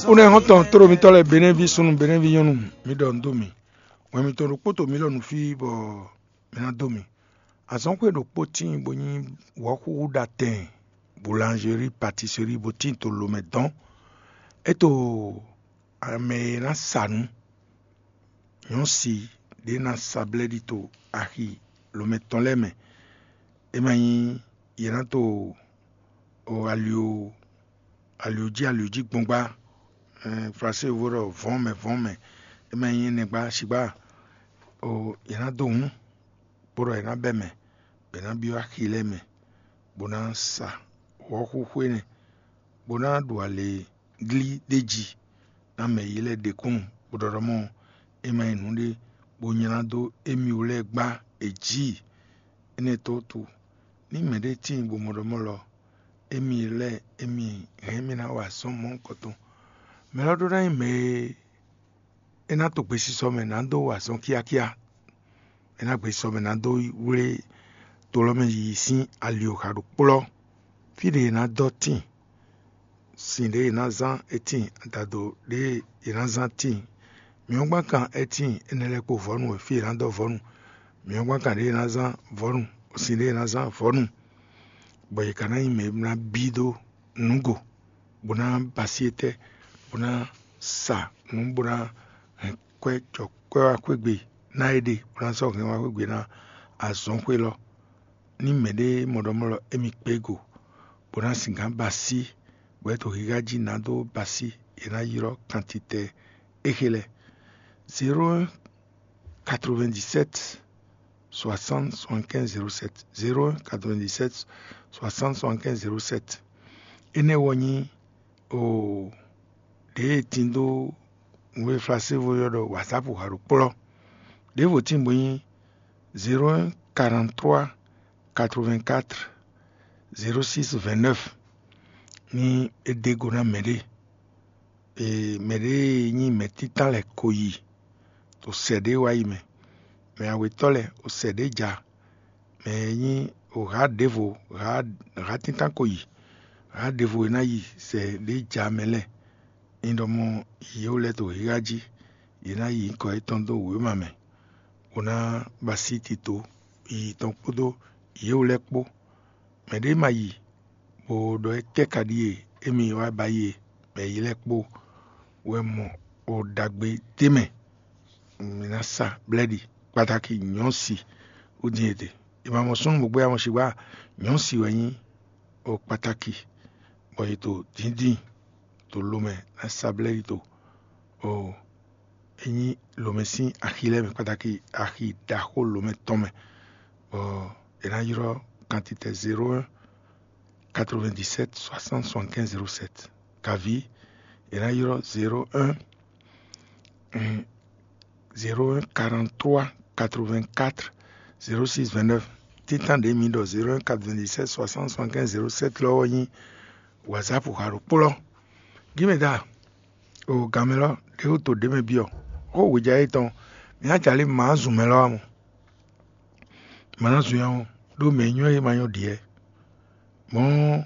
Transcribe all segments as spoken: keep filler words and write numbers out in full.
Kúnɛ́ xɔ́ntɔn tló mitɔ́ lɛ́ɛ, Benɛ́ví súnnu, Benɛ́ví nyɔ́nu, mi ɖɔ nǔ dó mì. Wɛn mitɔn ɖokpó to mǐ lɔ nǔ fí bɔ mǐ ná dó mì. Azɔ̌xwé ɖokpó tíin bó nyí wɔ̌xúxú ɖatɛn, boulangerie, pâtisserie bó tíin to lomɛ dɔn. É to mɛ e ná sa nǔ, nyɔ̌si ɖě ná sa blɛ́ɖi to axi lomɛ tɔn lɛ́ɛ mɛ. É ma nyí yě ná to ali ali jí ali jí gbɔngbá, Flasé vo ɖɔ vɔ̌n mɛ vɔ̌n mɛ. É ma nyí énɛ́ gbá sigbá. Yě ná dó hǔn, bó ɖɔ yě ná bɛ́ mɛ, bɔ yě ná byɔ́ axi lɛ́ɛ mɛ, bó ná sa wɔ̌xúxú énɛ́, bó ná ɖu alě glí ɖ'é jí ná mɛ yě lɛ́ɛ ɖe kúnnu, bó ɖɔ ɖɔ mɔ é ma nyí nǔɖé bó nylá dó émí wú lɛ́ɛ gbá è jí. Énɛ́ tó wútu, ní mɛɖé tíin bó mɔ ɖɔ mɔ̌ lɔ, émí lɛ́ɛ émí hɛn mì ná wa azɔ̌ mɔ̌hunkɔtɔn. Mɛ lɔ ɖó ná nyí mɛ e é ná to gbesisɔ mɛ ná dó wa azɔ̌ kíákíá. É ná gbesisɔ mɛ ná dó wlé to lɔ mɛ yiyi sín ali oxa ɖokplɔ́. Fí ɖě è nǎ dɔ́ tíin, sin ɖě è nǎ zán é tíin, adado ɖě è nǎ zán tíin, mǐ ɔ́ gbán kan é tíin, énɛ́ lɛ́ɛ kpó vɔ̌nu e fí è nǎ dɔ́ vɔ̌nu, mǐ ɔ́ gbán kan ɖě è nǎ zán vɔ̌nu, sin ɖě è nǎ zán vɔ̌nu, bɔ yě ka ná nyí mɛ e ná bí dó nǔgo, bó ná ba así étɛ́, bó ná sa nǔ, bó ná hɛn kwɛ́ jɔ kwɛ́ wá xwé gbe ná é ɖe, bó ná sɔ́ hɛn wá xwé gbe ná azɔ̌xwé lɔ. Ní mɛɖé mɔ ɖɔ mɔ̌ lɔ, émí kpé go, bó ná singán ba así, bɔ é to xixa jí ná dó ba así, è nǎ ylɔ́ kantitɛ éxe lɛ́ɛ: zéro un quatre-vingt-dix-sept soixante soixante-quinze zéro sept, zéro un quatre-vingt-dix-sept soixante soixante-quinze zéro sept. Énɛ́ wɔ nyí o ɖěe tin dó nǔ e Flasévo ylɔ́ ɖɔ WhatsApp xa ɖo kplɔ́. Ɖěvo tíin bó nyí zéro un quarante-trois quatre-vingt-quatre zéro six vingt-neuf. Ní é ɖe go ná mɛɖé, mɛɖé e nyí mɛ̌ títán lɛ́ɛ ko yi to sɛ ɖě wá yi mɛ, mɛ awetɔ́ lɛ́ɛ o sɛ ɖě ja, mɛ e nyí o hǎ ɖěvo, hǎ títán ko yi, hǎ ɖěvo e ná yi sɛ ɖě ja mɛ lɛ́ɛ. Ní ɖɔ mɔ yě wú lɛ́ɛ to xixa jí, yě ná yi nyǐkɔ yětɔn dó wěma mɛ, bó ná ba así tito yiyi tɔn kpódó yě wú lɛ́ɛ kpó. Mɛɖé ma yi bó ɖɔ étɛ́ ka ɖíe émí wá ba yi e, bɔ yě lɛ́ɛ kpó wɛ mɔ o ɖagbe d'é mɛ. Mǐ ná sa blɛ́ɖi kpatáki nyɔ̌si wú dín e te. È ma mɔ súnnu bó gbé amɔ́ sigba, nyɔ̌si wɛ nyí o kpatáki, bɔ è to dǐndín to lo mɛ ná sa blɛ́ɖi to o é nyí lǒmɛ sín axi lɛ́ɛ mɛ kpatáki, axi ɖaxó lǒmɛ tɔn mɛ, bɔ è nǎ ylɔ́ kantitɛ zéro un quatre-vingt-dix-sept soixante soixante-quinze zéro sept. Kaví è nǎ ylɔ́ zéro un zéro un quarante-trois quatre-vingt-quatre zéro six vingt-neuf. Títán ɖě mi ɖɔ zéro un quatre-vingt-dix-sept soixante soixante-quinze zéro sept lɔ ɔ́ nyí WhatsApp xa ɖokpó lɔ. Gímɛdá, o gǎnmɛ lɔ ɖě wú to ɖě mɛ byɔ́ xó wěja yětɔn. Mǐ ná jalí mǎ zun mɛ lɔ ɔ́ mɔ. Mǎ ná zun nyawɔ ɖó mɛ e nyɔ́ é ma nyɔ́ ɖiɛ. Mɔ̌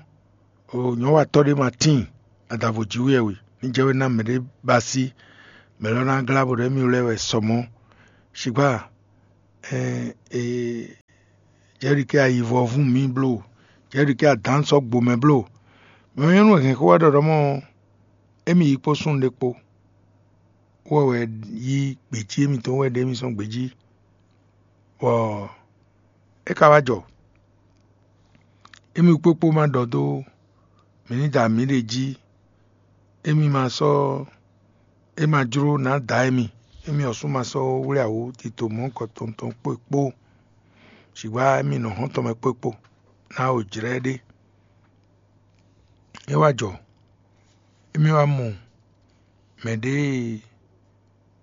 o nyɔ̌watɔ́ ɖé ma tíin adǎvo jǐ wú yɛ we ní jɛ we ná mɛɖé ba así, mɛ lɔ ná glá bɔ ɖɔ émí lɛ́ɛ wɛ sɔ mɔ̌. Sigba ɛ e jɛɖi kɛ ayivɔ vún mǐ bló, jɛɖi kɛ adǎn sɔ́ gbo mɛ bló. Mɛ nyɔ́nu e hɛn xó wá ɖɔ ɖɔ mɔ émí yi kpó súnnu ɖé kpó, wɔ wɛ yí gbějí émítɔn wɛ ɖe émí sɔ́ gbějí, bɔ é ka wá jɔ. Émí kpókpó ma ɖɔ dó mǐ ní da mǐɖée jí, émí ma sɔ́ é ma jló nǎ da émí, émí ɔ́ sú ma sɔ́ wlé awǒ tito mɔ̌hunkɔtɔn tɔn kpó é kpó, sigba émí nɔ hɔ́n tɔn mɛ kpó é kpó, ná o jlɛ́ ɖé. É wá jɔ, émí wá mɔ mɛɖée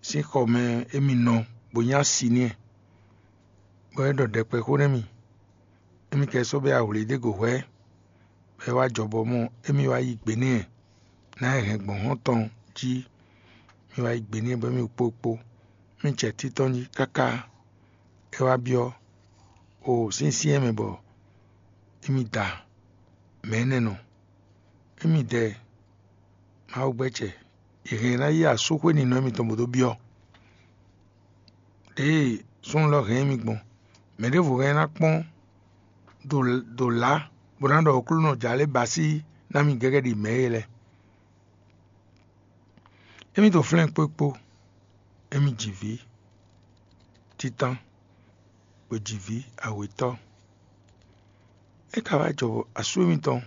sín xɔ mɛ émí nɔ bó nyí asi n'i, bɔ é ɖɔ ɖɛkpɛ xó nú émí. Émí ka sɔ́ bɛ́ ahwlí ɖé go hwɛ̌, bɔ é wá jɔ bɔ mɔ émí wá yí gbe n'i ɛ, ná é hɛn gbɔn hɔ́n tɔn jí. Mí wá yí gbe n'i bɔ émí kpó kpó. Mí jɛ títɔn jí káká. É wá byɔ́ o syɛ́nsyɛ́n mɛ bɔ émí da mɛ énɛ́ nɔ. Émí dɛ Mawu gbɛ́ jɛ è hɛn ɛ ná yi asúxwé ninɔ mitɔn bó dó byɔ́. Ɖěe súnnu lɔ hɛn mì gbɔn, mɛ ɖěvo hɛn ná kpɔ́n ɖo lǎ bó ná ɖɔ Aklúnɔ jǎ lɛ́ɛ ba sí ná mì gɛ́gɛ́ ɖi mɛ̌ é lɛ́ɛ. Émí to flɛ́n kpó kpó, émí ji vǐ títán, bó ji vǐ awětɔ́. É ka wá jɔ asú émítɔn,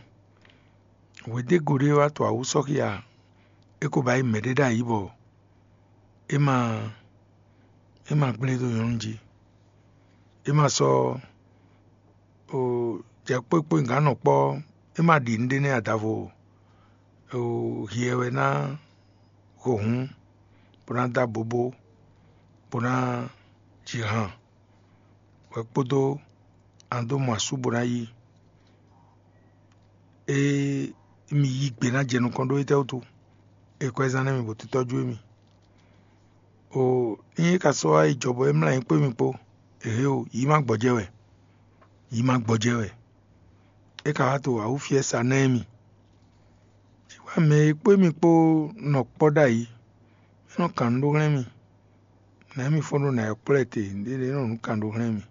hwedégǒ ɖé wá to awǔ sɔ́ xia, é ko ba yí mɛɖé ɖ'ayǐ bɔ é ma é ma gblé dó nyɔ̌nu jí. É ma sɔ́ jɛ kpó kpó gǎnnɔ kpɔ́, é ma ɖi nǔɖé nɛ́ adavo o. Hiɛ wɛ ná ho hǔn, bó ná dó abobó, bó ná ji han, wɛ kpódó an dó mɔ asú bó ná yí. Ée mi yí gbe ná jɛ nukɔn ɖó étɛ́ wútu? È kɔ ɛ zán nɛ́ mi bó títɔ́jú émi. O, ényí é ka sɔ́ wá yi jɔ bɔ é mlá nyɛ kpó mi kpó, ehe o, yǐ ma gbɔjɛ́ wɛ, yǐ ma gbɔjɛ́ wɛ. É ka wá to awǔfiɛ sa ná émi. Wá mɛ e kpó émi kpó nɔ kpɔ́ ɖ'ayǐ, é nɔ kan nǔ ɖó hlɛ́n mì. Nɛ̌ mi fɔ́n ɖó nǎ yi kplɔ́ ɛ te? Nǔɖé ɖé nɔ nǔ kan ɖó hlɛ́n mì.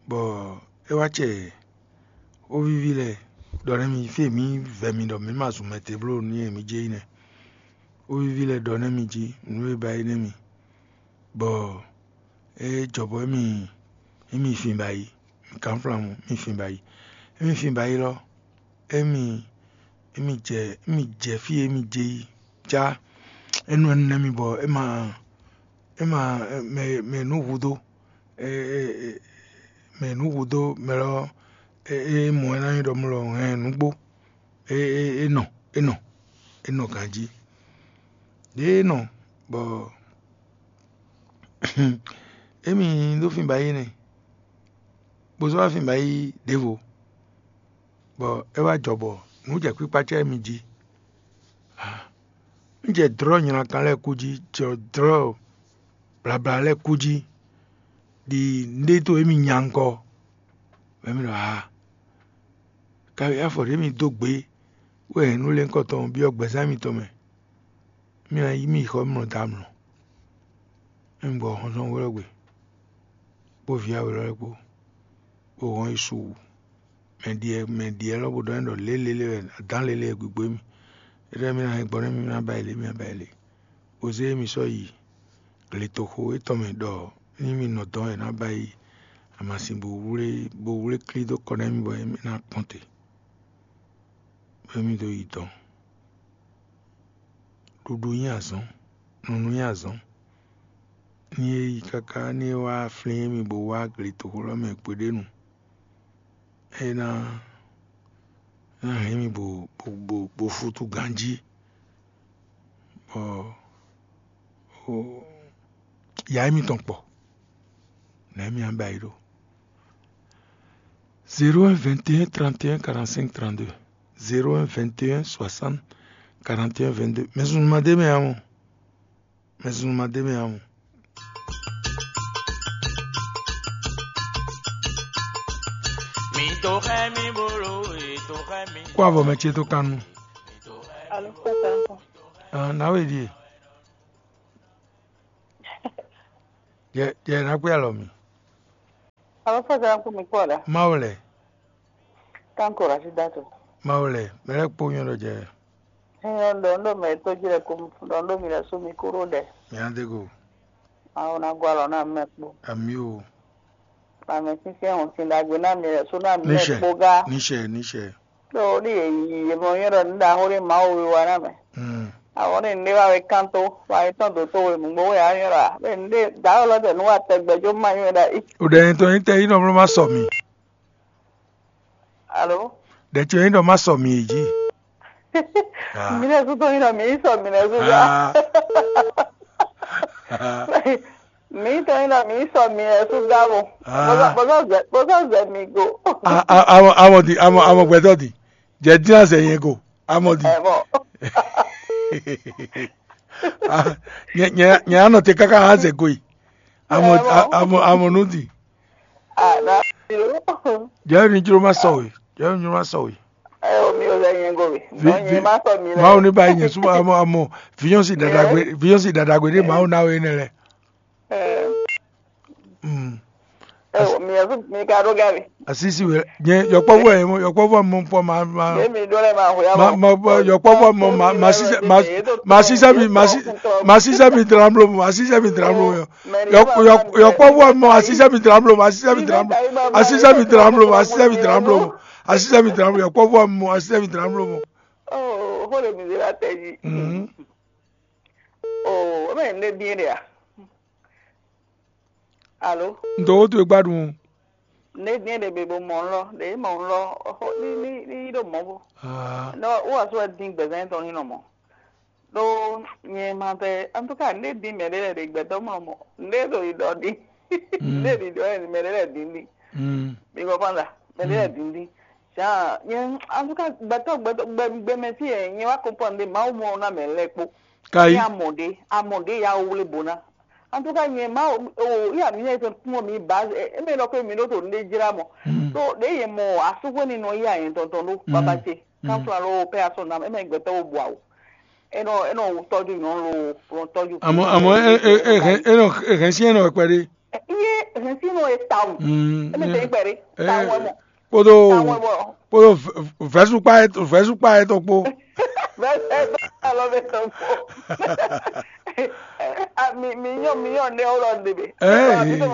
Bɔ é wá cɛ xóvíví lɛ́ɛ ɖɔ nɛ́ mi fí e mǐ vɛ mi ɖɔ mǐ ma zun mɛ te bló nú yě mǐ jɛ yi nɛ́. Xóvíví lɛ́ɛ ɖɔ nɛ́ mi jí nǔ e ba yi nɛ́ mi, bɔ é jɔ bɔ émi émi fin ba yi, mi kan flán mɔ mi fin ba yi, émi fin ba yi lɔ, émi émi jɛ émi jɛ fí e émi jɛ yi, cá é nɔ nɛ́ mi bɔ é ma é ma mɛ mɛ nǔ hudó, mɛ nǔ hudó mɛ lɔ é mɔ ɛ ná nyí ɖɔ mɔ lɔ hɛn nǔgbó. É nɔ é nɔ é nɔ ganjí. Ɖěe é nɔ bɔ émi ɖó fin ba yi nɛ́, bó zɔ́ wá fin ba yi ɖěvo, bɔ é wá jɔ bɔ nǔ jɛ kpíkpá cɛ mi jí. Un jɛ dlɔ̌ nylankan lɛ́ɛ kú jí, jɛ dlɔ̌ blabla lɛ́ɛ kú jí, ɖi nǔɖé dó émi nya ŋkɔ. Bɔ émi ɖɔ aa, kawi afɔ ɖě mi dó gbě wɛ nǔlénkɔ tɔn byɔ́ gbɛzán mitɔn mɛ. Mì ná yí mì yi xɔ mlɔ dɔ́ amlɔ. Émi gbɔ xɔnzɔ́n wlɔ́ gbe, kpó vǐ awelɔ́ lɛ́ɛ kpó, bó hɔn yi su wǔ. Mɛ ɖiɛ mɛ ɖiɛ lɔ́ bó ɖɔ n'i ɖɔ lě lélé wɛ adǎn lélé wɛ gbigbo émí. É ɖɔ émí ná hɛn gbɔ nú émí ná ba yi lě, émí ná ba yi lě. Bó zé émí sɔ́ yi gletoxo étɔn mɛ ɖɔ ní mì nɔ dɔn wɛ ná ba yi amasin bó wlé bó wlé klí dó kɔ nú émí bɔ émí ná kpɔ́n te, bɔ émí dó yi dɔn. Ɖuɖu nyí azɔ̌n, nunu nyí azɔ̌n. Ní é yi káká ní é wá flín émí bó wá gletoxo lɔ́ mɛ kpéɖénu, é ná ná hɛn mì bó bó bó bó fútú ganjí, bɔ ya émítɔn kpɔ. Nɛ̌ mì ná ba yi ɖó? Zéro un vingt et un trente et un quarante-cinq trente-deux, zéro un vingt et un soixante quarante et un vingt-deux. Mɛ zunu ma dé mɛ ǎ mɔ. Mɛ zunu ma dé mɛ ǎ mɔ. Mi to xɛ mi bolo, e to xɛ mi. Kó avɔ mɛ ce tó kan nu. Alo, kó ta kɔ. Ah, nawe ɖie. Jɛ jɛ na kpé alɔ mi. Alo, fɔ zan kó mi kpɔ la. Mawu lɛ. Tanko Rashida to. Mawu lɛ, mɛ lɛ kpó nyɔ ɖɔ jɛ. Nyɔ ɖɔ ndo mɛ to ji lɛ ko ɖɔ ndo mi lɛ so mi kúrò ɖɛ. Mi ade go. Mawu na gwa lɔ na mɛ kpó. Ami o. Ame sísɛ́n hɔn sin ɖagbe ná mi lɛ so ná mi lɛ Níṣɛ. Kpó gá. Níṣɛ, níṣɛ. Ɖo ɖi yě yi yě mɔ nyɔ ɖɔ nu ɖaxó ɖé Mawu wíwá ná mɛ. Mm. Àwọn ní nɖé wá wé kán tó, wá yé tɔn dǒ tó we nǔgbó wé á nyɔ ɖɔ a. Bɛ nɖé dǎwe lɔ tɛ nú wa tɛgbɛ jó má nyɔ ɖa í. O ɖɛ nyɛ tɔn nyí tɛ yí nɔ bló má sɔ mi. Alo? Ɖɛ tɔn nyí nɔ má sɔ mi yě jí. Ah. Mi lɛ sútɔ nyí nɔ mi yí sɔ mi lɛ sútɔ. Ah. Mi tɔn nyí nɔ mi yí sɔ mi lɛ sútɔ abo. Ah. Bɔsɔ zɛ bɔsɔ zɛ mi go. Ah, ah, amɔ amɔ di amɔ amɔ gbɛtɔ di. Jɛ dín azɛ yẹn go. Amɔ di. Ɛ bɔ. Ah, nyɛ nyɛ nyɛ anɔ te káká azɛ go yi. Amɔ Ɛ bɔ. Amɔ amɔ nu di. Ah, na. Jɛ ni jlo ma sɔ we. Jɛ ni jlo ma sɔ we. Ɛ o mi o Sɛ nyɛ go mi. Nɔ nyɛ ma sɔ mi lɛ. Mawu ní ba nyɛ súnmọ́ amɔ amɔ fiyɔn si dadagbe fiyɔn si dadagbe ɖé mawu ná wé nɛ lɛ. Ɛ, Mm. Ɛ, mi yɛ mi ka ɖo gari. Asisi wɛ nyɛ yɔkpɔvɔ yɛ mɔ yɔkpɔvɔ mɔ fɔ ma ma Ye mi ɖo lɛ ma hwe ma ma ma yɔkpɔvɔ mɔ ma ma sisɛ ma ma sisɛ mi ma si ma sisɛ mi dran blo ma sisɛ mi dran blo yɔ yɔkpɔvɔ mɔ asisɛ mi dran blo ma sisɛ mi dran blo asisɛ mi dran blo ma sisɛ mi dran blo asisɛ mi dran blo yɔkpɔvɔ mɔ asisɛ mi dran blo mɔ. Oh, hole mi de la tɛ ji. Mhm. Oh, o mɛ ne bien de ya. Alo. Ndo wo to gbadun. Ne bien de be bo mɔ lɔ de mɔ lɔ ni ni ni do mɔ bo. Ah. No, wo aso din gbɛzɛn tɔn ni nɔ mɔ. Ɖó nyɛ ma tɛ, en tout cas, ne din mɛ ɖe lɛ de gbɛtɔ mɔ mɔ ne do yi dɔ din. Ne di dɔ mɛ ɖe lɛ din din. Mm. Mi kɔ fanda mɛ ɖe lɛ din din. Jean, nyɛ en tout cas, gbɛtɔ gbɛtɔ gbɛ gbɛmɛ ti yɛ nyɛ wa comprendre de Mawu mɔ na mɛ lɛ kpo. Kayi. Ni amɔ ɖe amɔ ɖe ya wo wle bo na. En tout cas, nyɛ ma o ya mi yɛ fɛn kún mi ba e mɛ lɔ ko mi ɖo to ne jra mɔ. Mm. To ɖe yɛ mɔ asukwe ni nɔ ya yɛ tɔntɔn ɖo baba ce. Kan fla lo pɛ asɔ na e mɛ gbɛtɔ wo bua o. E nɔ e nɔ tɔju nyɔnu lo nɔ tɔju. Àmọ́ àmọ́ ẹ ẹ ẹ hɛn ẹ nɔ ẹ hɛn sí ẹ nɔ kpɛɖé. Iye hɛn sí nɔ e ta o. Mm, e mi tɛ kpɛɖé ta o ɛ mɔ. Kpodo ta o ɛ mɔ. Kpodo vɛsukpa yɛ vɛsukpa yɛ tɔ kpo. Vɛsukpa lɔ bɛ tɔ kpo. Mi mi nyɔ mi nyɔ ne o lɔ de be. Ɛ mi tɔ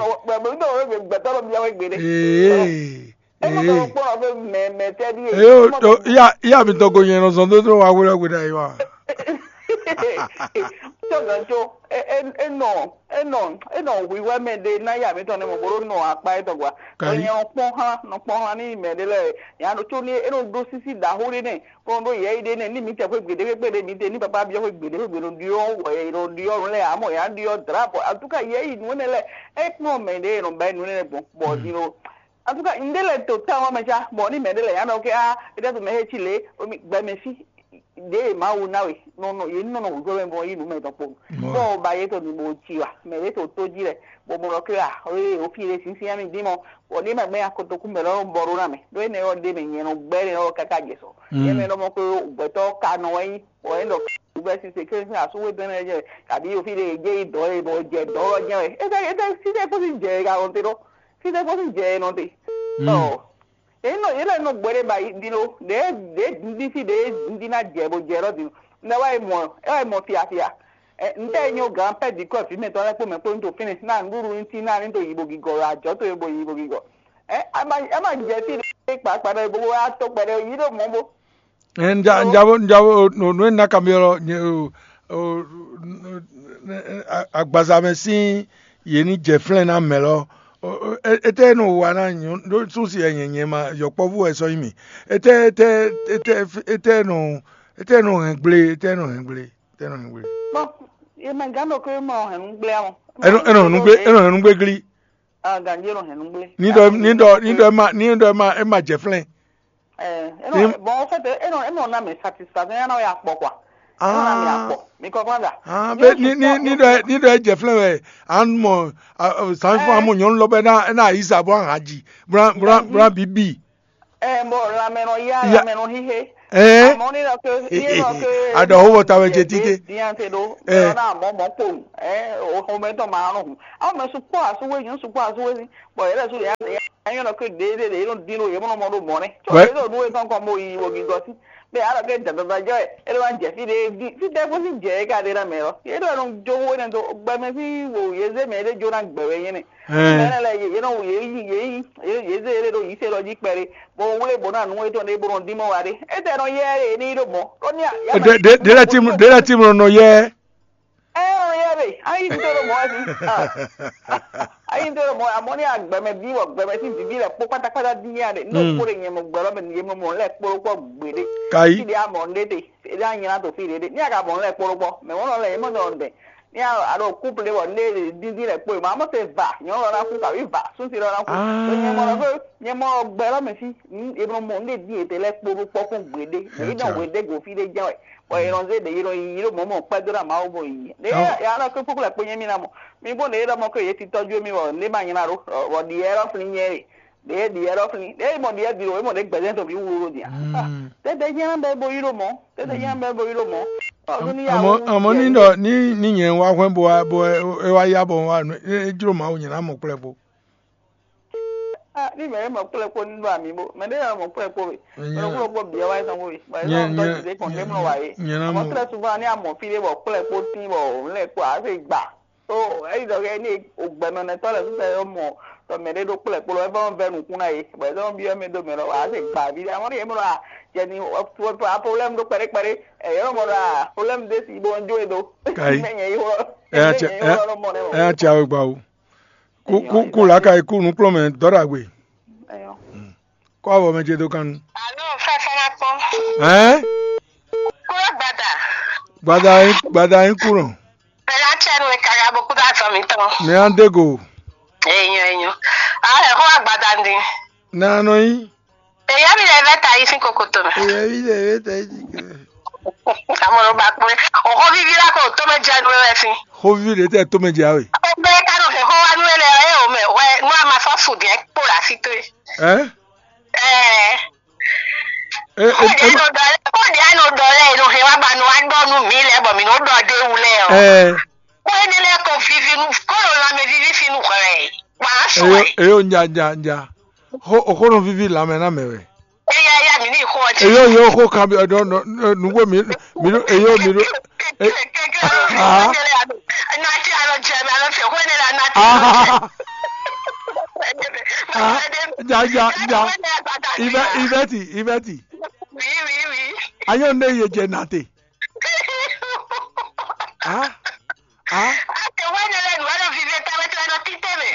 mi tɔ mi gbɛtɔ lɔ mi yɛ wɛ gbe de. Ee. Ema ka kpɔn ɔvɛ mɛ mɛ tɛ ɖi e. Eyo to iya iya mi tɔgɔ nyɛ nɔ zɔn dó tó wa wúlɔ gbe ɖa yi wa. Tɔgɔ tso enɔ enɔ enɔ hwiwɛ mɛ ɖe ná ya mi tɔn ne mɔ bolo nɔ akpa etɔn gba. Nyɛ nɔ kpɔn hã nɔ kpɔn hã ní mɛ ɖe lɛ ya nɔ tso ní enɔ ɖó sisi ɖaxó ɖe nɛ kɔn ɖó yɛ yi ɖe nɛ ní mi tɛ xwe gbeɖe xwe gbeɖe mi tɛ ní papa biɔ xwe gbeɖe xwe gbeɖe ɖiɔ wɔ yɛ ɖɔ ɖiɔ lɛ amɔ ya ɖiɔ drap en tout cas yɛ yi nu nɛ lɛ ekpɔn mɛ ɖe nɔ ba nu nɛ gbɔn bɔ ɖi lo. En tout cas, un ɖe lɛ to tawun mɛ ca, bɔ ní mɛ ɖe lɛ yǎ ɖɔ kɛ á, é ɖɛ́ to mɛ xé cí lě, gbɛmɛ fí ɖě e Mawu ná we, nɔ nɔ yě nɔ nɔ wǔjɔ mɛ bɔ yí nǔ mɛ tɔn kpo. Bɔ ba yě to nǔ bó cí wa, mɛ ɖě to tó jí lɛ, bɔ mɔ lɔ kí a, é o fí ɖé sínsín mì dín mɔ, bɔ ní mɛ gbɛ́ akotokú mɛ lɔ bɔ ɖó ná mɛ, ɖó énɛ́ ɔ́ ɖé mɛ nyɛ nɔ gbɛ́ énɛ́ ɔ́ káká jɛ sɔ. Yě mɛ lɔ mɔ kó gbɛtɔ́ ka nɔ wɛ nyí, bɔ é ɖɔ gbɛ sísè kérésì asúwé dɔn énɛ́ jɛ, kabí o fí ɖé e jẹ́ yi dɔ̌ e bɔ jɛ dɔ̌ lɔ jẹ́ wɛ. É tɛ é tɛ sí tɛ kó sí jɛ e ka wɔn te ɖó. Fí ɖé kó sín jɛ e nɔ te. Ɔ, yě nɔ yě lɛ nɔ gbɛ ɖé ba yi ɖi lo ɖě ɖě dundí fí ɖě dundí ná jɛ bó jɛ lɔ din. Nɛ wá yi mɔ ɛ wá yi mɔ fiafia. Ntɛ nyɔ gan pɛ di kɔ fi mɛ tɔn lɛ kpó mɛ kpó nto fínɛ ná nɖúɖu ntí ná ní to yi bo gigɔ ajɔ to yi bo yi bo gigɔ. Ɛ ama ama jɛ fí ɖé kpakpa ɖe bo wá to kpɛ ɖe yi ɖo mɔ bo. Ɛ, nja nja bo nja bo no no ena kamiɔ lɔ nye o o agbaza mɛ sín yě ní jɛ flɛ́n ná mɛ lɔ. Etɛ nɔ wa ná nyɔ ɖó súnsi ɛ nyɛ nyɛ ma yɔkpɔ́vú wɛ sɔ́ nyí mì. Etɛ etɛ etɛ etɛ nɔ etɛ nɔ hɛn gblé etɛ nɔ hɛn gblé etɛ nɔ hɛn gblé. Bɔn yemɛ gán ɖo kó mɔ hɛn nú gblé amɔ. Enɔ enɔ hɛn nú gblé enɔ hɛn nú gblé glí. Ganji enɔ hɛn nú gblé. Ní ɖɔ ní ɖɔ ní ɖɔ ema ní ɖɔ ema ema jɛ flɛ́n. Ɛ enɔ bɔn en fait enɔ enɔ na mɛ satisfaction ya na ya kpɔ quoi. Enɔ na mɛ akpɔ mi kɔ kɔn da. Ah, be ni ni ni ɖɔ ni ɖɔ jɛ flɛ wɛ an mɔ sanfɔ amɔ nyɔnu lɔ bɛ na na yi sa bɔ aha ji bra bra bra bibi. Ɛ bɔ lamɛ nɔ ya lamɛ nɔ hihe. Ɛ amɔ ni lɔ ke ye lɔ ke adɔ ho bɔ ta wɛ jɛ tite. Diante do ɛ na mɔ mɔ kponu ɛ o xɔmɛ tɔ ma nɔ hun awo mɛ sukpɔ asuwe nyɔ sukpɔ asuwe si. Bɔn yɛlɛ su ya ya nyɔ nɔ ke ɖe ɖe ɖe yɛ nɔ din ɖo yɛ mɔ nɔ mɔ ɖo mɔ nɛ. Tsɔ yɛ ɖo nu yɛ kɔnkɔn mo yi wo gigɔ si. Bɛ alɔ ke dadada jɔ yɛ e ɖo ma jɛ fi ɖe di fi tɛ ko si jɛ yɛ ka ɖe na mɛ lɔ yɛ ɖo nɔ jo wo nɛ to gbɛmɛ si wo yɛ ze mɛ ɖe jo na gbɛ wɛ nyɛ nɛ. Mɛ nɛ lɛ yɛ nɔ yɛ yi yɛ yi yɛ ze yɛ ɖo yi se lɔ ji kpɛ ɖe. Bɔn wle bɔ na nu etɔn ɖe bo nɔ din mɔ wa ɖe. Etɛ nɔ yɛ ɖe ni ɖo mɔ. Ɖe ɖe ɖe lɛ ti mu ɖe lɛ ti mu nɔ yɛ. Ɛ ɔn yɛ be ayi n toro mɔ wɛ bi ayi n toro mɔ amɔ ni agbɛmɛ bi wɔ gbɛmɛ ti vivi lɛ kpó pátápátá di yɛ de ne o kpó de nyɛ mɔ gbɛlɔ mɛ yɛ mɔ lɛ kpó kpó gbede kayi ti de amɔ ne de e de anyina to fi de de ni aga mɔ lɛ kpó kpó mɛ wɔn lɛ yɛ mɔ dɔ dɛ ni a ɖo couple de wɔ ne de didi lɛ kpó ma amɔ se va nyɔ lɔ na ku kabi va sunsi lɔ na ku to nyɛ mɔ lɔ ko nyɛ mɔ gbɛlɔ mɛ fi e mɔ mɔ ne di e de lɛ kpó kpó kún gbede ne yi dɔn gbede go fi de jɛ wɛ. Bɔ yɛ nɔ zé ɖe yɛ nɔ yi yɛ ɖo mɔ̌ mɔ kpɛdó ná Mawu bɔ yi. Ɖe ya nɔ kpé kpókpó lɛ kpé nyɛ mì ná mɔ. Mi bó ɖe yɛ ɖɔ mɔ kó yɛ ti tɔ́jú mì bɔ ndé ma nyi ná ɖó bɔ ɖi yɛ lɔ flin nyɛ ɖe. ɖě ɖi yɛ ɖɔ flin, ɖě mɔ ɖi yɛ ɖi ɖo, é mɔ ɖě gbɛzɛn tɔn bǐ wlú ɖo nya. Tɛ́tɛ́ jɛ́n bɛ bo yi ɖo mɔ, tɛ́tɛ́ jɛ́n bɛ bo yi ɖo mɔ. Ɔ́, ní ya Àmọ́ wú àmọ́ ní yɛ ɖɔ ní ní nyɛ wá hwɛ́n bo wá bo é wá yá bɔ wá nú é jló Mawu nyɛ ná mɔ kplɛ́ kpó. Ah, ní mɛ ɖé mɔ kplɛ́ kpó ní ɖo amǐ bó, mɛ ɖé mɔ kplɛ́ kpó we. Mɛ ɖokpó ɖokpó bǐ wá tɔn we. Bɔ é Nyɛ- nɔ nyɛ- dɔn jǐ kɔn ɖé mlɔ wá é. Nyɛ ná Àmọ́ mɔ. Très souvent ní amɔ fí ɖé bɔ kplɛ́ kpó tín bɔ òun lɛ́ kpó ǎ fɛ gbà. Tó eyi dɔ kɛ ní ògbɛnɔnɛtɔ́ lɛ́ɛ sísɛ yɔ mɔ tɔ mɛ ɖé ɖó kplɛ́ kpó lɔ é fɔ́n vɛ nukún ná yě, bɔ é dɔn byɔ́ mɛ dó mɛ lɔ wǎ se gbǎví ɖé amɔ̌ ɖe yě mɔ ɖɔ a jɛ ni problème ɖó kpɛɖé kpɛɖé, ɛ yě mɔ ɖɔ a problème ɖé si bó ń jó e ɖó. Kai. Mɛ nyɛ yi xó Ɛ ya mɛ nyɛ yi xó lɔ mɔ nɛ mɔ. Ɛ ya tsi awe gba o. Kú kú kú lǎka yi kú nukplɔ́nmɛ dɔ́ ɖagbe. Ɛyɔ. Kɔ avɔ mɛ ce dó kan nu. Alo, fɛfɛ na kpɔn. Ɛn? Kúrò gbada. Gbada yín gbada yín kúrò. Bɛla tsɛ nu ka ga bo kúdó azɔ mǐtɔn. Mi á dé go. Enyo enyo. Ah, ɛ xó agbada ndi. Na nɔ yín. Eya mi lɛ vɛ ta yi sín kokoto mɛ. Eya mi lɛ vɛ ta yi sín kokoto. Amɔnɔ ba kpɔn. O xó vivi la ko tó mɛ jɛ nu wɛ fi. Xó vivi ɖe tɛ tó mɛ jɛ awe. O bɛ ka nɔ fɛ xó wa nu lɛ ɛ o mɛ wɛ nu a ma sɔ su diɛ kpo la fi to. Ɛn? Ɛɛ. E e Kóde e anu dɔ lɛ, kóde anu dɔ lɛ, inu hɛn wá ba nu wá dɔ nu mi lɛ bɔ mi nu dɔ de wu lɛ o. Ɛɛ. Kó ene lɛ ko vivi nu, kó lo lanmɛ vivi fi nu hwɛ. Wà á sùn Eyo ɛ. Eyo nja nja nja. Xó xó nɔ vivi lanmɛ ná mɛ wɛ. Eya ya mi ní xɔ ti. Eyo yo xó kan bi ɔdɔ nugbo mi mi ɖo eyo mi ɖo. Kɛkɛ Ah. Kɛkɛ nati alɔ jɛ mi alɔ fɛ kó ene la nati alɔ jɛ. Ah. Ah. Ja ja ja. Ivɛ ivɛti ivɛti. Oui, oui, oui. Ayɔ ne ye jɛ nate. Ah. Ah. Ate wɛnɛ lɛ nu wɛnɛ vivi ta wɛ tɛ nɔ tite mɛ.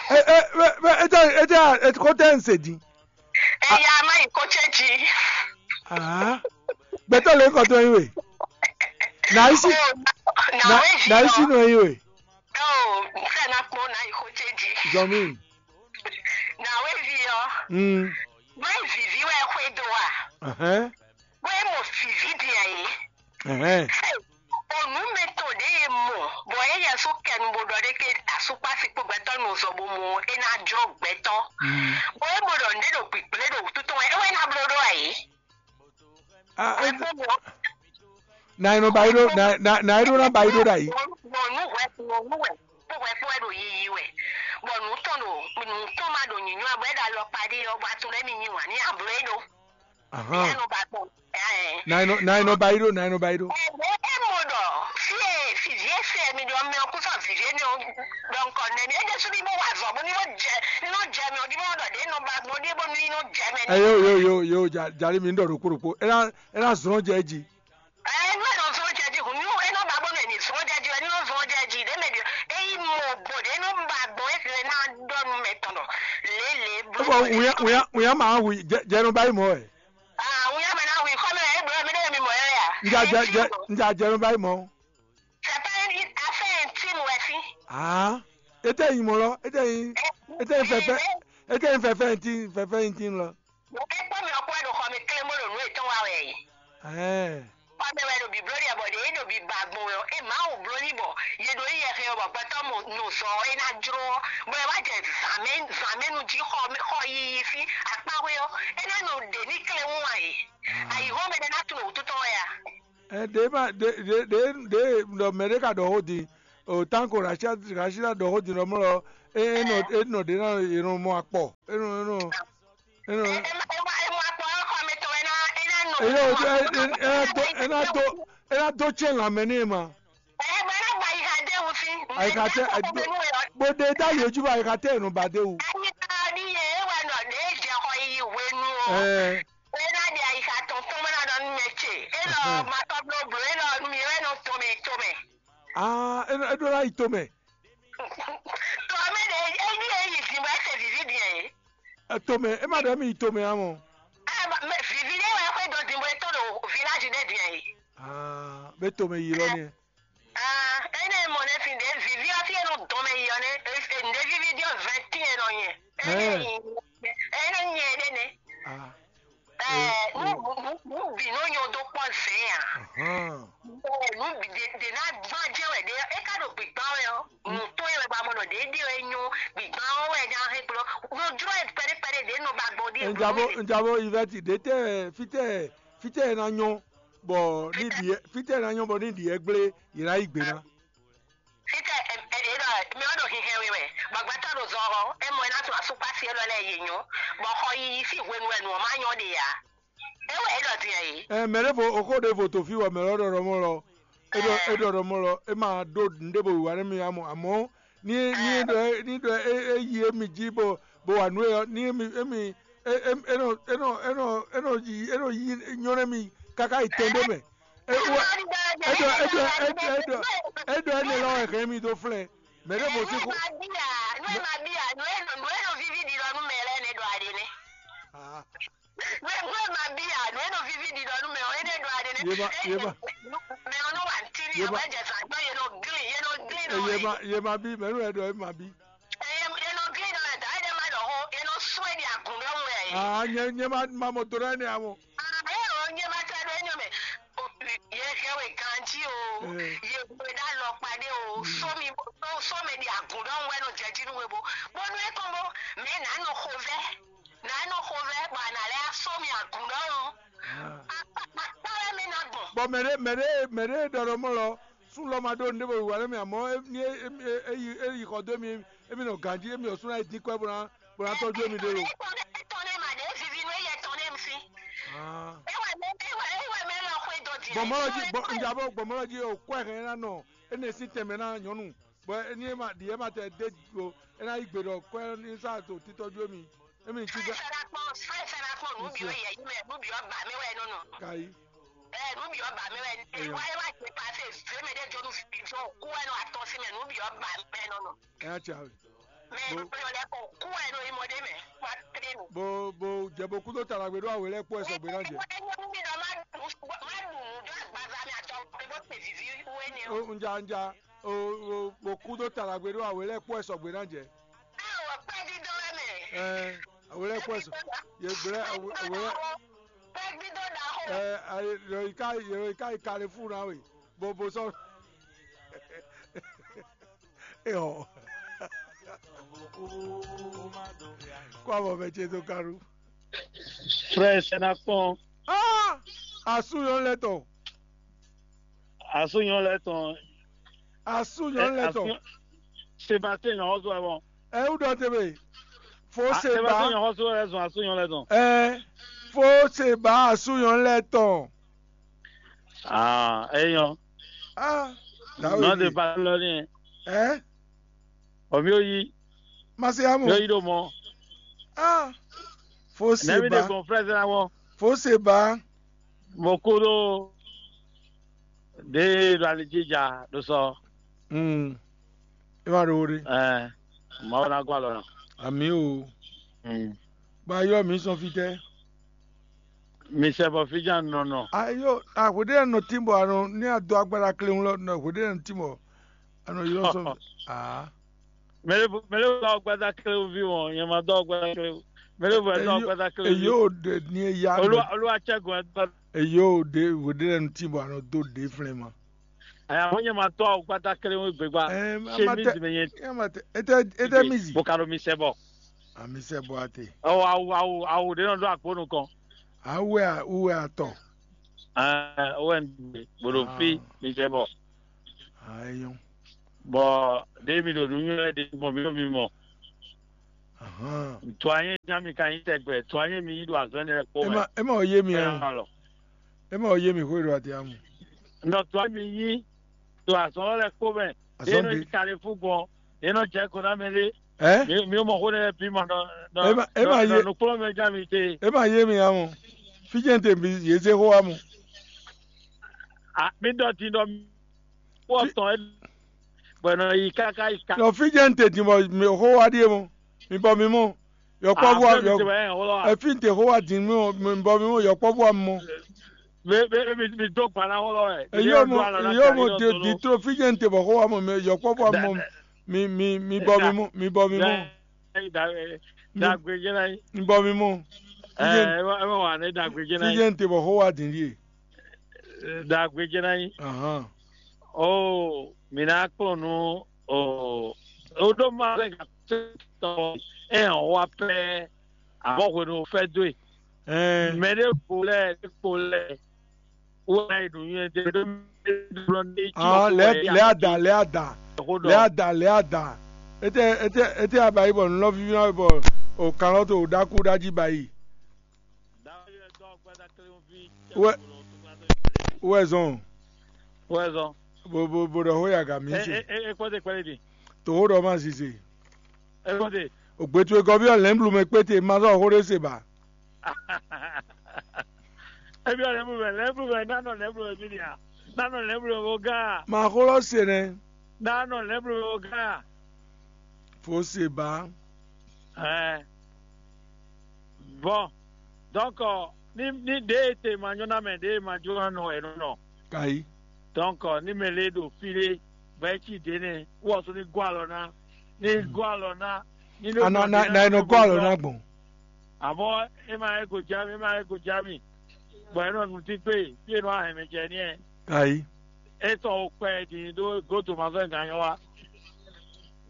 E e e e e e e e ko tɛ n se di. Eya ma yi ko tse ji. Ah. Gbɛtɔ le kɔ to yi we. Na isi. Na na isi no yi we. Oh, fɛ na kpɔn na yi ko tse ji. Zɔmi. Na we vi ɔ. Mm. Ma yi vivi wɛ xwe do wa. Ɛhɛn. Bó é mɔ vǐví din ǎ é. Ɛhɛn. Onǔ mɛ tɔn ɖě e mɔ, bɔ é yɛ só kɛnu bó ɖɔ ɖé ké asúkpási kpó gbɛtɔ́ nɔ zɔ bó mɔ é ná jlɔ́ gbɛtɔ́. Mm. Bɔ é mɔ ɖɔ nǔɖé ɖo gbǐgblé ɖo wútu tɔn wɛ, é wɛ ná bló ɖó ǎ é. Ah, Wɛ eh, kó mɔ. Na e nɔ ba yi ɖó na na na e ɖó ná ba yi ɖó ɖo ayǐ. Mɔ nǔ hwɛ mɔ nǔ hwɛ kpó hwɛ kpó wɛ ɖo yiyi wɛ. Bɔ nǔ tɔn ɖo nǔ tɔn ma ɖo nyǐnyɔ́ ǎ, bɔ é ɖo alɔkpa ɖé ɔ́, bɔ a tunwun émí nyi wǎn ní abló é ɖó. Ahan. Éyɛ́ nɔ ba gbɔn. Ɛɛ. Na e nɔ na e nɔ ba yi ɖó na e nɔ ba yi ɖó. Ɛɛ, é mɔ ɖɔ fí e fìví e se mi ɖɔ mɛ ɔ́ kú sɔ vǐví énɛ́ ɔ́ ɖɔ nukɔn nɛ́ mi. É ɖésú ní bó wa azɔ̌ bó ní bó jɛ ní nɔ jɛ mɛ ɔ́ ɖí bó ɖɔ ɖě nɔ ba gbɔn ɖíe bónú ní nɔ jɛ mɛ nɛ́. Ɛ yo yo yo yo ja jali mi ń ɖɔ ɖokpó ɖokpó. É ná é ná zlɔ́n jɛ é jí. Ɛɛ, nú é nɔ zlɔ́n jɛ jí hǔn nú é nɔ ba bónú è nǐ zlɔ́n jɛ jí wɛ ní nɔ zlɔ́n jɛ jí ɖě mɛ ɖě é yí mɔ bɔ ɖě nɔ ba gbɔn é ná ɖɔ nú mɛ tɔn ɖɔ lě lě bló. Ó bɔ wìyá wìyá wìyá máa hu jẹ jẹ nɔ báyìí mọ́ ẹ̀. Ah, wìyá mɛ ná hu xɔ́ mɛ é bló mɛ ɖé mi mɔ ɛ yá. Nja jẹ jẹ nja jẹ nɔ báyìí mọ́. C'est pas une affaire intime wɛ sí. Ah, ete yin mɔ lɔ ete yin ete yin fɛfɛ ete yin fɛfɛ yin tin fɛfɛ yin tin lɔ. Mo kɛ kpɔ mi ɔkpɔ ɖo xɔ mi klé mo ɖo nú etɔn wa wɛ yi. Ɛɛ. Xɔ mi wɛ ɖo bi bló ɖi bɔ ɖe é ɖo bi ba gbɔn wɛ ɔ é Mawu bló ní bɔ ye ɖo yi yɛ xɛ bɔ gbɛtɔ mo nɔ zɔ ɔ é ná jló ɔ bɔ ɛ wá jɛ zǎmɛ zǎmɛ nu jí xɔ xɔ yiyi fí akpáwé ɔ é ná nɔ ɖe ní klé wún wa yi. Ayi hɔn mɛ ɖe ná tun ɖo wútu tɔn wɛ a? Ɛ ɖě ma ɖě ɖě ɖě ɖě ɖɔ mɛ ɖé ka ɖɔ xó din o tánko Rashida ɖɔ xó din ɖɔ mɔ lɔ é é nɔ é nɔ ɖě ná è nɔ mɔ akpɔ é nɔ é nɔ é nɔ. Ema ema ema akpɔ xɔ mi tɔn ena ena nɔ. É nɔ é é é ná dó é ná dó é ná dó tsɛn lanmɛ ní ma. Ema ena ba yi ha de wusi. Ayika tɛ bó de dá yé ju ayika tɛ nù ba de wu. Ayi ta ni ye ewa nɔ de jɛ xɔ yi wenu o. Ɛɛ. Ena de ayika tɔntɔn mɛ na nɔ nu mɛ tse. Enɔ ma tɔ blo blo enɔ mi wɛ nɔ tɔmɛ tɔmɛ. Aa é ɖó ná yi tomɛ. Tɔmɛ de eyi eyi di bɔ ɛsɛ vivi diɛ ye. Tomɛ é ma ɖɔ mi yi tomɛ ǎ mɔ. Ɛ mɛ vivi ɖé wɛ xwé dɔ di bɔ etɔn ɖo village ɖé diɛ ye. Aa be tomɛ yi lɔ nɛ. Aa ene mɔ ne fi ɖe vivi ɔfi enu dɔmɛ yi ɔ ne ende vivi diɔ vingt et un nɔ nyɛ. Ene yi ene nyɛ ɖe ne. Aa. Ɛɛ nu nu nu bi nɔ nyɔ do kpɔ zɛn ya. Ɛɛ nu bi de de na gbɔn jɛ wɛ de e ka ɖo gbigban wɛ ɔ nu tɔn wɛ ba mɔ nɔ ɖě ɖe wɛ nyɔ gbigban ɔ́ wɛ nya hɛn gblɔ. Nɔ jlɔ ɛ kpɛɖé kpɛɖé ɖě nɔ ba gbɔ ɖi. Njabo njabo ivɛti ɖe tɛ fitɛ fitɛ ɛ na nyɔ bɔ ní ɖi ɛ fitɛ ɛ na nyɔ bɔ ní ɖi ɛ gblé yě ná yí gbe ná. Fitɛ ɛ ɛ ɖɔ mi ɔ ɖo hinhɛn we wɛ bɔ gbɛtɔ ɖo zɔ hɔ e mɔ ɛ ná tún asukpasi e lɔ lɛ yi nyɔ bɔ xɔ yiyi sí hwenu wɛ nǔ ɔ́ má nyɔ ɖe ǎ. É wɛ é ɖɔ din ɛ yi. Ɛ mɛ ɖěvo oxó ɖěvo to fí wɔ mɛ lɔ ɖɔɖɔ mɔ lɔ é ɖɔ é ɖɔɖɔ mɔ lɔ é ma ɖó nǔɖé bo wíwá nú mi amɔ amɔ ní ní ɖɔ é ní ɖɔ é é yi émi jí bo bo wa nǔ é ɔ́ ní émi émi é é é nɔ é nɔ é nɔ é nɔ yi é nɔ yi nyɔ́ nú émi káká yi tɛn ɖé mɛ. É wɛ é ɖɔ é ɖɔ é ɖɔ é ɖɔ é ɖɔ énɛ́ lɔ wɛ hɛn mi dó flɛ́n mɛ ɖěvo sí kú. Nú ɛ ma bí a nú ɛ nɔ nú ɛ nɔ víví ɖi lɔ nú mɛ lɛ nɛ ɖɔ aɖe nɛ. Nú ɛ nú ɛ ma bí a nú ɛ nɔ víví ɖi lɔ nú mɛ ɔ énɛ́ ɖɔ aɖe nɛ. Yé ma yé ma Mɛ ɔ nɔ wa ntí ni Yé ma- ɛwɛ jɛ zan gbɔ yé nɔ glin yé nɔ glin nɔ yé wɛ. Ma yé ma bí mɛ nú ɛ ɖɔ é ma bí. Yé nɔ glin nɔ da yé ma ɖɔ xó yé nɔ sún ɛ ɖi agun ɖɔ wɛ. Ah, nye nye ma ma mɔ do ɖe ne amɔ. Aa ɛ ɔ nye ma tɛ ɖo enyɔ mɛ. Yɛ hɛ we ganji o, yɛ we ɖe alɔkpa ɖe o, sɔmi sɔmɛ ɖi agun ɖɔ wɛ nɔ jɛji nú we bo, bɔnu e kɔn bo mɛ nà nɔ xo vɛ, nà nɔ xo vɛ, bɔ a nà lɛ sɔmi agun ɖɔ o. Akpa akpa wɛ mi na gbɔn. Bɔ mɛ ɖé mɛ ɖé mɛ ɖé ɖɔ ɖɔ mɔ lɔ sú lɔ ma ɖó nɖé bɔ wíwá nɛ mi amɔ ní é yi xɔ dó mi émi nɔ ganjí émi ɔsún ná yi dín kɔ́ bó ná bó ná tɔ́jú émi ɖé lo. Etɔn ne ma ɖe vivi nú eyɛ tɔn ne mi si. Ewa mɛ ewa ewa mɛ lɔ xwe dɔ di. Gbɔmɔlɔ jí gbɔ njabɔ gbɔmɔlɔ jí o kɔ ɛ hɛn ná nɔ ene sí tɛmɛ ná nyɔnu bɔ eni ema ɖi ema tɛ de o ena yi gbe ɖɔ kɔ ɛ ní sá to títɔjú émi émi ní tí gá. Fɛnakpɔn fɛnakpɔn nubiɔ yɛ yi mɛ nubiɔ ba mi wɛ nɔnɔ. Kayi. Ɛ nubiɔ ba mi wɛ ewa ewa jɛ pase zeme ɖe jɔnu fi jɔ kú wɛ nɔ atɔ si mɛ nubiɔ ba mi wɛ nɔnɔ. Ɛ ya tsa we. Mɛ Bo- nɔ lɛ kɔ kú wɛ nɔ imɔ ɖe mɛ wa tere nu. Bo bo jɛ bo kúdó talagbe ɖó awe lɛ kpɔ ɛ sɔgbe ná jɛ. Ɛ ɛ ɛ mi dɔ ma ɖu ma ɖu nu dɔ agbaza mi atɔ bó te vivi wɛ ni o. O nja nja o o bo kúdó talagbe ɖó awe lɛ kpɔ ɛ sɔgbe ná jɛ. Ɛ wɔ pɛ dídɔ wɛ mɛ. Ɛ awe lɛ kpɔ ɛ sɔ ye gblɛ awe awe lɛ Pɛ dídɔ da xo. Ɛ ayi yɔ yi ka yɔ yi ka yi kalifu na we bo bo sɔ. Ehɔ. Kó avɔ mɛ ce dó kánú. Frère, c'est la con. Ah! Asú yɔn lɛ tɔn. Asú yɔn lɛ tɔn. Asú yɔn lɛ tɔn. Sébastien yɔn ɔzɔ ɛ wɔn. Ɛ wú dɔ tebe. Fo Sébastien Seba. Yɔn ɔzɔ ɛ zɔn asú yɔn lɛ tɔn. Ɛ fo Seba asú yɔn lɛ tɔn. Ah, eyɔn. Ah, dawe. Non de parole rien. Hein? Omi oyi. Masiamu. Yo yi do mɔ. Ah. Fosi Nɛbi de ba. Bon frère na wɔ. Fosi ba. Mo ko do. De do ali jija do sɔ. Hmm. E ma do wori. Eh. Ma wona gwa lɔ. Ami o. Hmm. Ba yo mi sɔn fitɛ. Mi sɛ bɔ fija nɔnɔ. Ayo, a hweɖe nɔ tin bɔ anɔ ní a dó agbára kléwún lɔ nɔ hweɖe nɔ tin bɔ anɔ ylɔ sɔ. Ah. Mele mele wa gbada kléwún vi wɔn, yẹn ma dó gbada kléwún. Mele wa dó gbada kléwún vi. Eyo de ni e ya. Olúwa olúwa cɛ gɔn ẹ dó. Eyo de hweɖe nɔ tin bɔ anɔ dó de flɛn ma. Aya mo nyɛ ma tɔ awu kpata kele ŋu gbegba. Chemise me nyɛ. Ete ete mizi. Bokalo mi sɛ bɔ. Ami sɛ bɔ ate. Ɔ awu awu awu ɖe nɔ ɖo akpo nukɔn. Awu ɛ awu ɛ atɔ. Ɛɛ owɛ gbolo fi mi sɛ bɔ. Ayo. Bɔ ɖe mi ɖo nu nyɔ ɖe mɔ mi ɖo mi mɔ. Ahan. Tɔ anyi nya mi ka nyi tɛgbɛ tɔ anyi mi nyi ɖo azɔn ɖe kpɔ mɛ. Ema ema o ye mi ya. Ema lɔ. Ema o ye mi hwe ɖo ati amu. Nɔ tɔ mi nyi ɖo azɔn lɔ lɛ kpó mɛ. Azɔn ɖe. Yé nɔ yi kalifu gbɔn. Yé nɔ jɛ ko ná mɛ ɖé. Ɛ? Mi mi mɔ xó ɖé lɛ bí ma nɔ nɔ. Ema ema ye. Nɔ nukplɔ mɛ ja mi te. Ema ye mi amu. Fidjɛ te mi ye ze xó amu. A mi dɔ ti dɔ mi. Wɔ tɔn ɛ. Bɔ nɔ yi kaka yi ka. Nɔ fidjɛ te din bɔ mi xó wa ɖie mɔ. Mi bɔ mi mɔ. Yɔkpɔ́vú ɔ́ yɔ efi te xó wá dín mì bɔ mi mɔ yɔkpɔ́vú ɔ́ mɔ. Mi mi mi mi dó gban ná xó lɔ wɛ. Eyó mo eyó mo di di tró fí jẹ́ n te bɔ xó wá mɔ mi yɔkpɔ́vú ɔ́ mɔ mi mi mi bɔ mi mɔ mi bɔ mi mɔ. Dàgbé jẹ́ náà yìí. Mi bɔ mi mɔ. Ẹ ẹ wà ní dàgbé jẹ́ náà yìí. Fí jẹ́ n te bɔ xó wá dín yìí. Dàgbé jẹ́ náà yìí. Ahàn. Ó mi ná kplɔ́n nú ó O ɖó ma lɛ gǎn tɔn ɛ hɔn wa pɛ, àmọ́ hwenu o fẹ́ dó e. Ɛɛ, Mɛ ɖé kpo lɛ ɖé kpo lɛ wɔ ɛ ɖo nyɛ ɖe ɖo ɖo ne tsi ah, lɛ lɛ ada lɛ ada lɛ ada lɛ ada. Ete ete ete aba yi bɔ nulɔ vivi na bɔ o kan lɔ to o ɖaku ɖa ji ba yi. Wɛ wɛ zɔn. Wɛ zɔn. Bo bo bo ɖɔ ho ya ga mi se. Ekpɔte kpɛlɛ di. To ho ɖɔ ma zize. Ekpɔte. Ogbetu egɔvi ɔ lɛnblu mɛ kpete ma zɔ ho ɖe se ba. Ebi ɔ lɛnblu mɛ lɛnblu mɛ nanɔ lɛnblu mɛ mi nia, nanɔ lɛnblu mɛ o gan. Ma xlɔ se nɛ. Nanɔ lɛnblu mɛ o gan. Fo se ba. Ɛɛ. Bon, donc ni ni ɖe e te ma nyɔ na mɛ ɖe e ma jó na nɔ ɛnɔ nɔ. Kayi. Donc ni mɛ le ɖo fi ɖe bɔ e ci ɖe nɛ wɔ so ni gɔ alɔ na, ni gɔ alɔ na, ni ɖo ana na na enɔ gɔ alɔ na gbɔn. Àmọ́ e ma yɛ go jami e ma yɛ go jami bɔ e nɔ nu ti gbe fi e nɔ ahɛn mɛ jɛ ni ɛ. Kayi. E tɔn o kpɛ din ɖo goto ma fɛ gan nyɔ wa.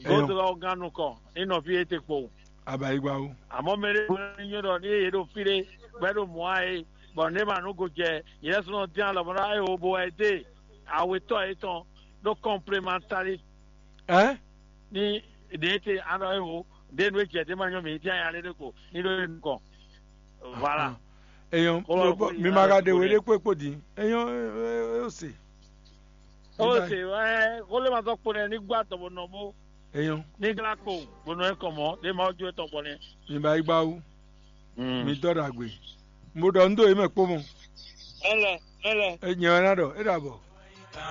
Goto lɔ gan nukɔn ni nɔ fi e te kpo. Abayigba o. Àmọ́ mɛ ɖé bó ní nyɔ́ ɖɔ ní yě ɖo fí ɖé bɔ é ɖo mɔ̌ ǎ é, bɔ nǔ e ma nǔ go jɛ yě lɛ́ɛ sɔ́ nɔ dín alɔ bɔ ná é wo bo wɛ dé awetɔ́ yětɔn ɖó kɔnplemantalí. Ɛ? Ní ɖě te anɔ é wo ɖě nú é jɛ dé ma nyɔ́ mǐ dín aya lé ɖé ko ní ɖó é nukɔn. Voilà. Eyɔn, Xó lɔ mi xó ma ka ɖe we ɖé kpó kpó din. Eyɔn, é ó se. Ó se wɛ xó lé ma zɔ kpo nɛ ní gbá dɔbɔ nɔ bó. Eyɔn. Ní glá kpo gbɔnɔ ɛ kɔ mɔ ɖé ma jó tɔn gbɔ nɛ. Mi ba yi gba wú. Mi dɔ ɖagbe. Mo ɖɔ un ɖo yě mɛ kpó mɔ. Ɛlɛ, ɛlɛ. E nyɛ wɛ ná ɖɔ, é ɖo abɔ.